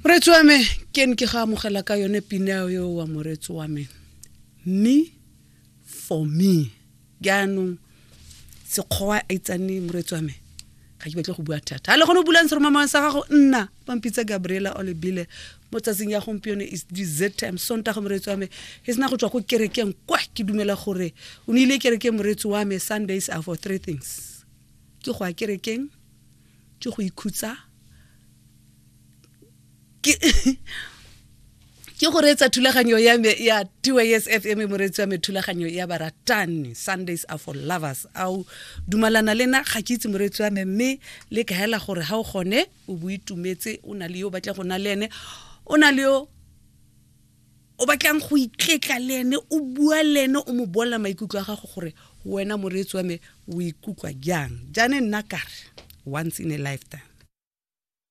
Moreetsi wa me, ke ne ke ga amogela ka yone pina eo wa moreetsi wa me. Me for me. Jaanong sekgowa a itsane moreetsi wa me. Ga ke batle go bua thata. Ha le gone o bulang seromamang sa gago nna pampitsa Gabriela Olebile mo tsatsing ya gompieno is dessert time Sontaga moreetsi wa me. He sena go tswa ko kerekeng kwa ke dumela gore o ne ile kerekeng moreetsi wa me. Sundays are for three things. Ke go ya kerekeng, ke go ikhutsa, ke ke go reetsa thulaganyo ya me ya TYS FM moreetsi wa me thulaganyo ya baratani Sundays are for lovers au dumalana le na ga ke itse moreetsi wa me mme le ka hela gore ha o gone o bo itumetse o na le yo o batlang go na le ene o na le yo o batlang go itletla le ene o bua le ene o mo bolela maikutlo a gago gore wena moreetsi wa me o ikutlwa jang jaaneng nna kare once in a lifetime.